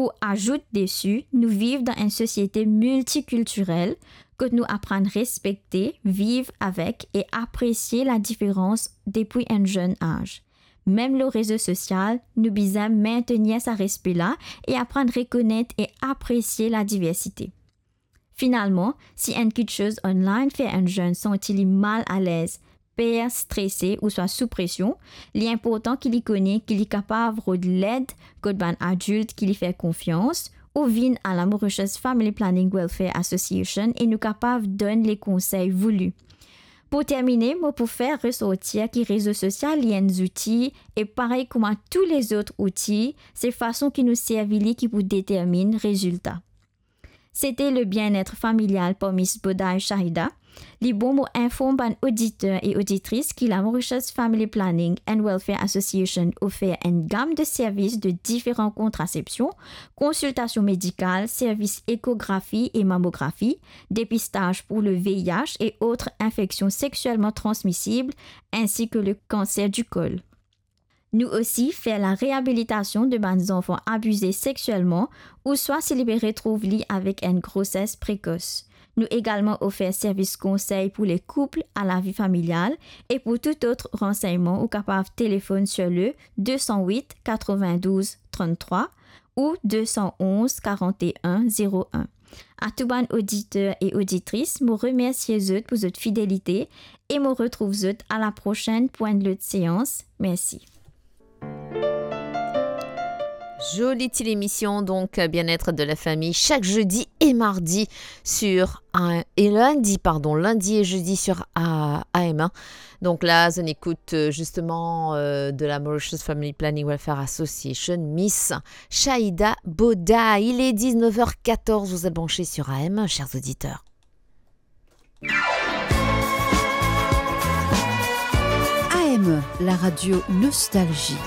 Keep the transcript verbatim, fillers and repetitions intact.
Pou azout desi, nou viv dan enn sosiete miltikiltirel, kot nou aprann respekte, viv avek e apresie ladiferans depi enn zenn az. Mem lor rezo sosial, nou bizin mentenir sa respe la e aprann rekonet e apresie ladiversite. Finalman, si enn kiksoz online fer enn zenn santi li mal alez, per, strese ouswa sou presion, li inportan ki li kone ki li kapav rod led kot bann adilt ki li fer konfians, ou vinn a la Mauritius Family Planning Welfare Association e nou kapav donn le konsey vouli. Pou termine, mo pou fer resortir ki rezo sosial li enn zouti e parey kouma tou lezot outi, se fason ki nou servi li ki pou determinn rezilta. Sete le bienetre familial par Miss Bodai Shahida. Li bon mo inform bann oditer e oditris ki la Mauritius Family Planning and Welfare Association ofer enn gam de servis de diferan kontrasepsion, konsiltasion medikal, servis ekografi e mamografi, depistaz pou le V I H e otre infeksion sexielman transmisib, insi ke le kanser di kol. Nou osi fer la reabilitasion de bann zanfan abize sexielman ouswa si li pe retrouv li avek enn groses prekos. Nou egalman ofer servis konsey pou le koup a lavi familial e pou tou lot ransegnman ou kapav telefonn sir le de san wit, katrevin-douz, tranntrwa ou de san onz, karantein, zero enn. A tou bann oditer e oditris, mo remersie zot pou zot fidelite e mo retrouv zot a la prosenn pou enn lot seans. Mersi. Jolie petite émission, donc, euh, bien-être de la famille, chaque jeudi et mardi sur A M, et lundi, pardon, lundi et jeudi sur A-, A M un. Donc là, on écoute, euh, justement, euh, de la Mauritius Family Planning Welfare Association, Miss Shahida Boda. Il est dix-neuf heures quatorze, vous êtes branchés sur A M un, chers auditeurs. A M, la radio nostalgie.